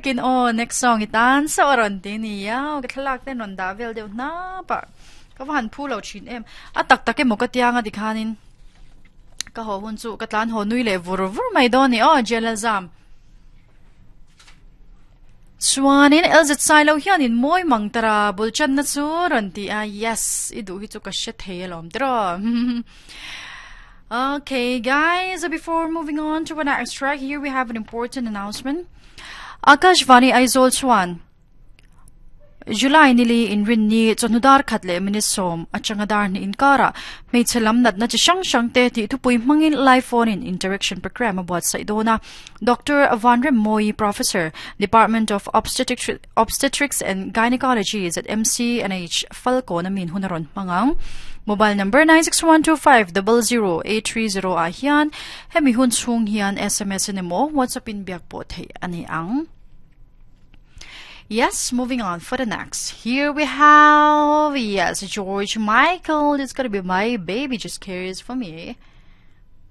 Kin aw next song i tan sauh a rawn ti nia aw ka thlalak ten rawn dah vel deuh hnap a ka va han phu lo thin em a tak tak emaw ka tiang a tikhanin ka haw hun chu ka tlan haw nui leh vur vur mai dawn ni aw jail a zam chuanin LZ Sailo hianin mawi mang tara bul channa chu rawn ti a yes i duh hi chu ka hre thei alawm tiraw Okay guys before moving on to our next track here we have an important announcement Akashvani Aizawl chuan July nili inrinni chawhnu dar khat leh minute sawm atanga dar hnih inkarah hmeichhe lam natna chi hrang hrang te tih thupui hmangin live phone in interaction program a buatsaih dawn a. Doctor Vanremmawi, Professor, Department of Obstetrics and Gynecology, ZMCNH, Falkawn a min hun a rawn hmang ang. Mobile number 9612500830 ah hian Hemi hun chhung hian sms in emaw WhatsApp in biak pawh theih a ni ang. Yes, moving on for the next. Here we have, yes, George Michael. It's gonna be my baby just cares for me.